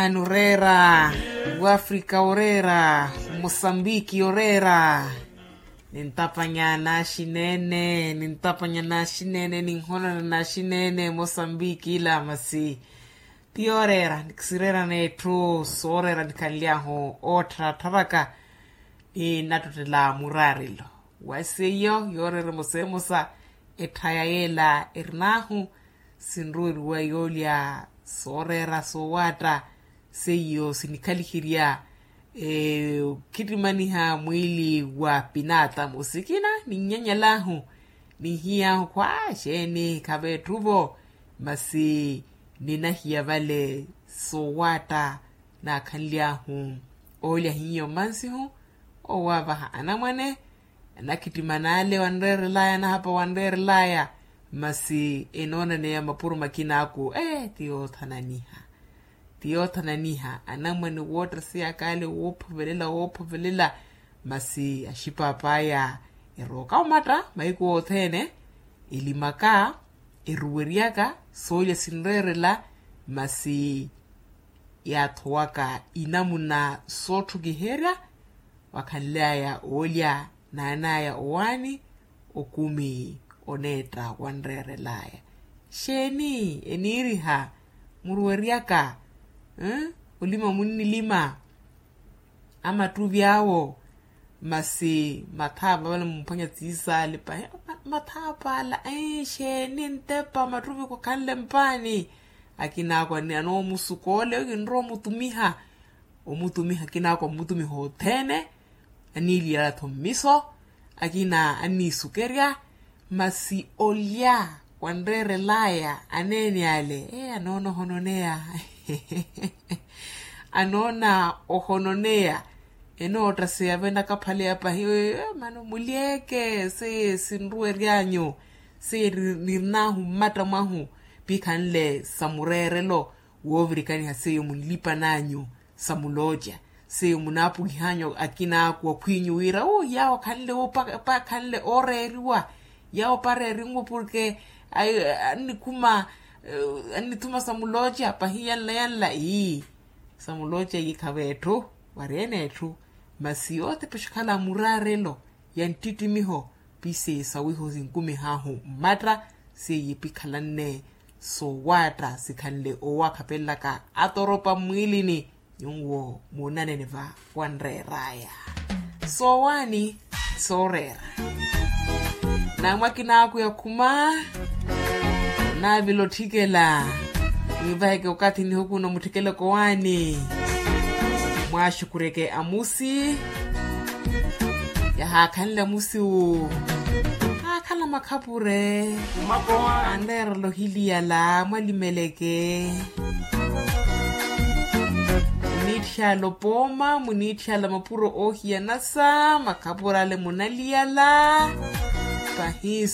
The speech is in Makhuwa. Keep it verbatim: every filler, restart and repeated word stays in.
Oreera wafrika oreera, mosambiki oreera. Nintapanya naxineene nintapanya naxineene ninhonona naxineene mosambiki ila masi. Ti yooreera nikisireera n'etthu sooreera nikhanly'ahu oottharatharaka. Ni nattottela muraarelo wa seiyo yooreera emosa emosa. Etthaya yeela erin'ahu sinruweriwa yoolya sooreera soowaatta. Seiyo sinikhaliherya okhittimaniha mwiili wa pinatamu sikina ninnyanyal'ahu. Ninhiy'ahu khwa xeeni khaveetthu-vo. Masi ninahiya vale soowaatta naakhanly'ahu oolya hiyo mmansihu. Owaavaha anamwane anakhittimana ale wanreerel'aya anahapa wanreerel'aya. Masi enoonaneya mapuro makina aku ee ti yoothananiha. Ti yoothananiha anamwane wootteseyaka ale woophovelela woophovelela. Masi axipaapaaya erooka omatta mahiku othene elimaka eruweryaka soolya sinreerela. Masi yaathowaka inamuna sootthukiherya wakhanly'aya oolya naan'aya owaani okumi oneetta wanreerel'aya. Xeeni eniiriha muruweryaka olima munnilima amattuvi awo. Masi mathaapa vale mumphwanya tsiisaale pahi mathaapa ala xeeni ntepa mattuvi khukhanle mpaani. Akinaako anoomusuka ole kinrowa omutumiha omutumiha akinaako ammutumiha othene. Aniiliyala-tho mmiso akina anniisukerya. Masi olya wanreerel'aya aneene ale ee anoona ohononeya. Anoona ohononeya enoottaseya venakaphaleya pahi. Mano mulyeke seiye sinruwery'anyu seiye nirn'ahu mmatta mwahu pikhanle sa mureerelo woovirikaniha seiyo munlipan'anyu sa mulooca seiyo munaapukihanyu akinaaku akhw'inyu wira uu yaawo akhanle uu pakhanle ooreeriwa yaawo pareerinwe porke annikhuma annithuma sa mulooca pahi yanla yanla ii sa mulooca ii khaveetthu wari ene etthu. Masi yootepexakhala muraarelo ya nttittimiho piseiye sawiho sinkumih'ahu mmatta seiye pikhalanne soowaatta sikhanle owakhapelelaka atoropa mmwiilini. Nyuwo muunanene va wanreer'aya soowaani sooreera. Naamwakina aku yakhuma naavila otthikela. Mwivaheke okathi nihukuno mutthikeleke owaani mwaaxukureke amusi. Yahaakhanle amusi wu haakhala makhapure anreerela ohiliyala mwalimeleke. Muniitthiyala opooma muniitthiyala mapuro oohiyanasa makhapure ale munaliyala. Pahi